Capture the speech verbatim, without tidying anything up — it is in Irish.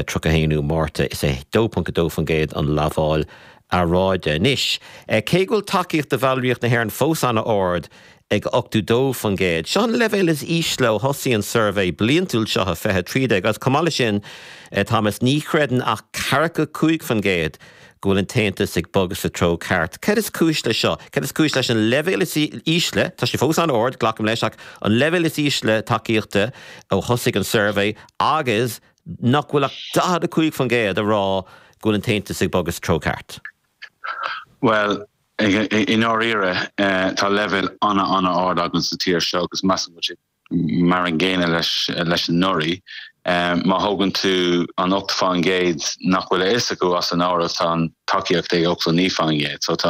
tríocha haonú Márta is é dó ponc dó faoin gcéad an lamháil earráide. Anois, cé go bhfuil tacaíocht do bhallraíocht na hÉireann fós an-ard ag ochtó dó faoin gcéad. Seo an leibhéal is ísle ó thosaigh an suirbhé bliantúil seo i fiche trí déag agus chomh maith leis sin Thomas ní chreideann ach ceathracha cúig faoin gcéad go bhfuil an tAontas ag bogadh sa treo ceart. Cad is cúis le seo? Cad is cúis leis an leibhéal is ísle, Tá sé fós an-ard glacaim leis ach an leibhéal is ísle tacaíochta ó thosaigh an suirbhé agus nach bhfuil ach daichead a cúig faoin gcéad a rá go bhfuil an tAontas ag bogadh sa treo ceart. Well, i ndáiríre tá leibhéal an-an-ard againn sa tír seo agus measann mar an gcéanna leis leis anuraidh. Má thógann tú an ocht faoin gcéad nach bhfuil a fhios acu as an áireamh tá an tacaíocht ag ochtó naoi faoin gcéad, so tá